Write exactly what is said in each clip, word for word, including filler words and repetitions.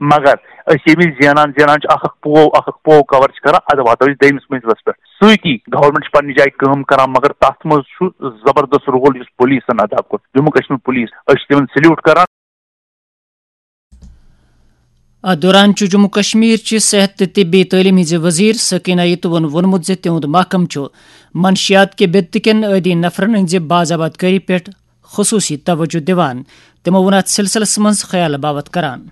مگر أسۍ ییٚمہِ وِزِ زینان زینان چھِ، اکھ اکھ پوو اکھ اکھ پوو کور چھِ کران، ادٕ واتو أسۍ دوٚیمِس منزلس پٮ۪ٹھ۔ سۭتی گورنمنٹ چھِ پننہِ جایہِ کٲم کران، مگر تتھ منٛز چھُ زبردست رول یُس پولیسن ادا کوٚر، جموں کشمیر پولیس، أسۍ چھِ تِمن سلیوٹ کران۔ اتھ دوران چھُ جموں کشمیر چہِ صحت تہٕ طبی تعلیٖم ہٕنٛزِ وزیر سکینہ یتوَن ووٚنمُت زِ تِہُنٛد محکمہٕ چھُ منشیات کہِ بدعت کٮ۪ن عٲدی نفرن ہٕنٛزِ باضابط کٲری پٮ۪ٹھ خصوٗصی توجہ دِوان۔ تِمو ووٚن اتھ سلسلس منٛز خیال باوت کران۔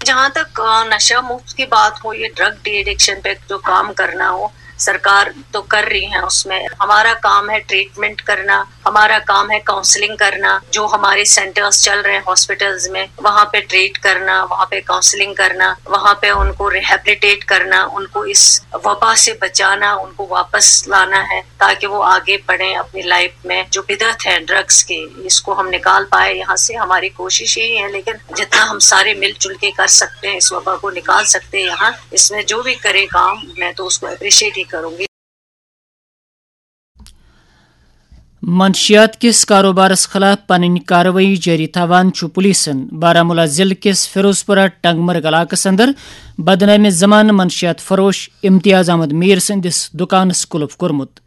جہاں تک، آ، نشہ مکت کی بات ہو، یہ ڈرگ ڈی ایڈکشن پہ جو کام کرنا ہو، سرکار تو کر رہی ہے، اس میں ہمارا کام ہے ٹریٹمنٹ کرنا، ہمارا کام ہے کاؤنسلنگ کرنا، جو ہمارے سینٹرز چل رہے ہیں ہاسپٹلز میں، وہاں پہ ٹریٹ کرنا، وہاں پہ کاؤنسلنگ کرنا، وہاں پہ ان کو ریہیبلیٹیٹ کرنا، ان کو اس وبا سے بچانا، ان کو واپس لانا ہے، تاکہ وہ آگے بڑھیں اپنی لائف میں۔ جو بدعت ہے ڈرگز کی، اس کو ہم نکال پائے یہاں سے، ہماری کوشش یہی ہے، لیکن جتنا ہم سارے مل جل کے کر سکتے ہیں، اس وبا کو نکال سکتے ہیں یہاں، اس میں جو بھی کرے کام، میں تو اس کو اپریشیٹ ہی کروں گی۔ منشیات کِس کاروبارس خلاف پنٕنۍ کاروٲیی جٲری تھاوان چھُ پولیسن بارہمولہ ضلعہٕ کِس فیروز پورہ ٹنگ مرگ علاقس اندر بدنامِ زمانہٕ منشیات فروش امتیاز احمد میر سٕنٛدِس دُکانس قلف کوٚرمُت۔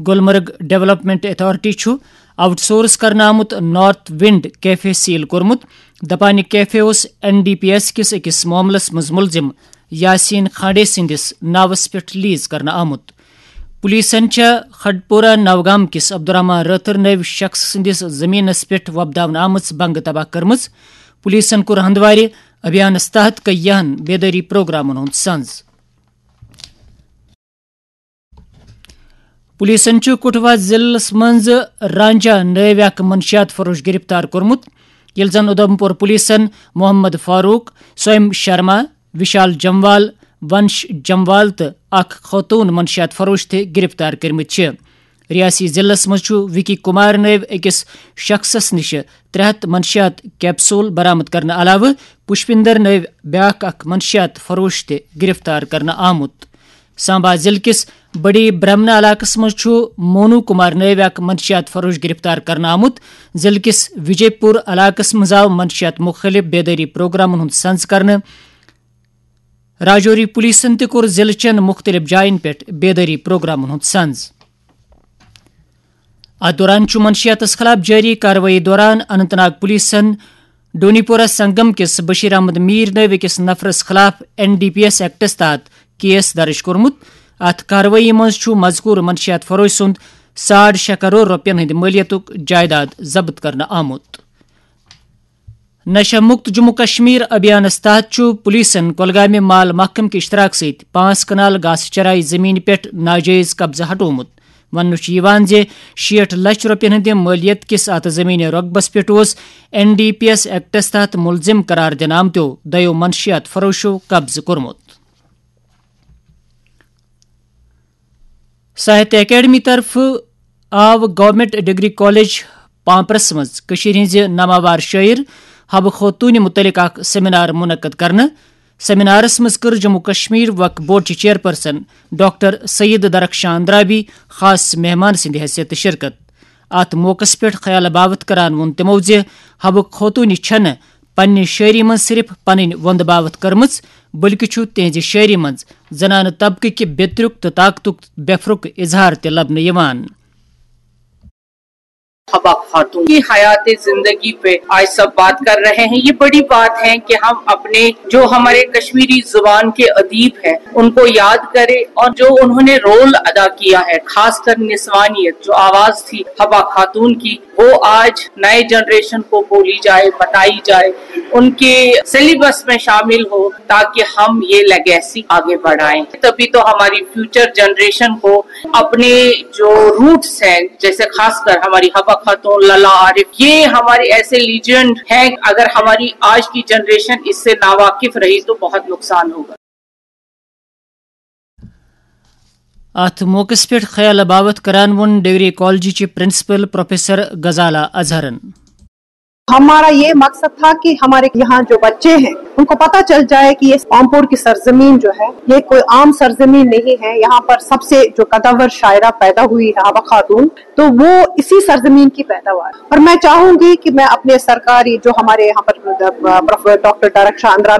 گلمرگ ڈیولپمنٹ اتھارٹی چھُ آؤٹ سورس کرنہٕ آمُت نارتھ ونڈ کیفے سیل کوٚرمُت۔ دپان، یہِ کیفے اوس این ڈی پی ایس کِس أکِس معاملس منٛز مُلزِم یاسین کھانڈے سٕنٛدِس ناوس پٮ۪ٹھ لیز کرنہٕ آمُت۔ پولیسن چھےٚ کھڈپورہ نوگام کِس عبدالرحمان رٲتھر نٲوۍ شخص سٕنٛدِس زٔمیٖنس پٮ۪ٹھ وۄپداونہٕ آمٕژ بنٛگہٕ تباہ کٔرمٕژ۔ پولیسن کوٚر ہندوارِ ابھیانس تحت کینٛہَن بیدٲری پروگرامن ہُنٛد سنز۔ پولیسن چھُ کٹھوا ضلعس منٛز رانجا نٲوۍ اکھ منشیات فروش گرفتار کوٚرمُت، ییٚلہِ زن اُدھمپور پولیسن محمد فاروق، سویم شرما، وشال جموال، ونش جموال تہٕ اکھ خاتون منشیات فروش تہِ گرفتار کٔرمٕتۍ چھِ۔ ریاسی ضلعس منٛز چھُ وکی کمار نٲوۍ أکِس شخصس نِش ترٛےٚ ہتھ منشیات کیپسول برآمد کرنہٕ علاوٕ پُشپِندر نٲوۍ بیٛاکھ اکھ منشیات فروش تہِ گرفتار کرنہٕ آمُت۔ سامبا ضلعہٕ کِس بڑی برہمنہ علاقس منٛز چھُ مونو کمار نٲوۍ اکھ منشیات فروش گرفتار کرنہٕ آمُت۔ ضلعہٕ کِس وجے پور علاقس منٛز آو منشیات مُخٲلف بیدٲری پروگرامن ہُنٛد سنز کرنہٕ۔ راجوری پولیسن تہِ کوٚر ضلعہٕ چٮ۪ن مُختٔلِف جاین پٮ۪ٹھ بیدٲری پروگرامن ہُنٛد سنز۔ اتھ دوران چھُ منشیاتس خلاف جٲری کاروٲیی دوران اننت ناگ پولیسن ڈونی پورہ سنگم کِس بشیر احمد میر نٲوۍ أکِس نفرس خلاف این ڈی پی ایس ایکٹس تحت کیس درج کوٚرمُت۔ اتھ کاروٲیی منٛز چھُ مذکور منشیات فروش سُنٛد ساڑ شےٚ کرور رۄپین ہٕنٛدِ مٲلیتُک جائیداد ضبط کرنہٕ آمُت۔ نشہ مکت جموں کشمیر ابھیانس تحت چھُ پولیسن کۄلگامہِ مال محکمہٕ کہِ اشتراک سۭتۍ پانٛژھ کنال گاسہٕ چراے زمینہِ پٮ۪ٹھ ناجٲیز قبضہٕ ہٹومُت۔ وننہٕ چھُ یِوان زِ شیٹھ لچھ رۄپین ہٕنٛدِ مٲلیت کِس اتھ زمینہِ رۄقبس پٮ۪ٹھ اوس این ڈی پی ایس ایکٹس تحت ملزم قرار دِنہٕ آمتیو دۄیو منشیات فروشو قبضہٕ کوٚرمُت۔ ساہتیہ اکیڈمی طرفہٕ آو گورنمنٹ ڈگری کالج پامپرس منٛز کٔشیٖرِ ہٕنٛزِ ناماوار شٲعر حبہٕ خوتوٗنہِ مُتعلق اکھ سیمینار منعقد کرنہٕ۔ سیمینارس منٛز کٔر جموں کشمیر وقف بورڈ چہِ چیئرپرسن ڈاکٹر سید درخشان اندرابی خاص مہمان سٕنٛدِ حیثیتہٕ شرکت۔ اتھ موقعس پٮ۪ٹھ خیال باوت کران ووٚن تِمو زِ حبہٕ خوتوٗنہِ چھنہٕ پننہِ شٲعری منٛز صرف پنٕنۍ وۄندٕ باوت کٔرمٕژ، بلکہِ چھُ تِہنٛزِ شٲعری منٛز زنانہٕ طبقہٕ کہِ بیترُک تہٕ طاقتُک بیفرُک اظہار تہِ لبنہٕ یِوان۔ حبہ خاتون کی حیات زندگی پہ آج سب بات کر رہے ہیں۔ یہ بڑی بات ہے کہ ہم اپنے، جو ہمارے کشمیری زبان کے ادیب ہیں، ان کو یاد کریں اور جو انہوں نے رول ادا کیا ہے، خاص کر نسوانیت، جو آواز تھی حبہ خاتون کی، وہ آج نئے جنریشن کو بولی جائے، بتائی جائے، ان کے سلیبس میں شامل ہو، تاکہ ہم یہ لیگیسی آگے بڑھائیں۔ تبھی تو ہماری فیوچر جنریشن کو اپنے جو روٹس ہیں، جیسے خاص کر ہماری حبہ خاتون، للا عارف، یہ ہمارے ایسے لیجنڈ ہیں، اگر ہماری آج کی جنریشن اس سے ناواقف رہی تو بہت نقصان ہوگا۔ اتھ موقعس پٮ۪ٹھ خیال باوت کران ووٚن ڈگری کالجہِ چہِ پرنسپل پروفیسر غزالہ اظہرن۔ ہمارا یہ مقصد تھا کہ ہمارے یہاں جو بچے ہیں ان کو پتہ چل جائے کہ یہ پامپور کی سرزمین جو ہے یہ کوئی عام سرزمین نہیں ہے، یہاں پر سب سے جو قدور شاعرہ پیدا ہوئی ہے حبہ خاتون، تو وہ اسی سرزمین کی پیداوار۔ اور میں چاہوں گی کہ میں اپنے سرکاری جو ہمارے یہاں پر ڈاکٹر طارق شاہ اندرابی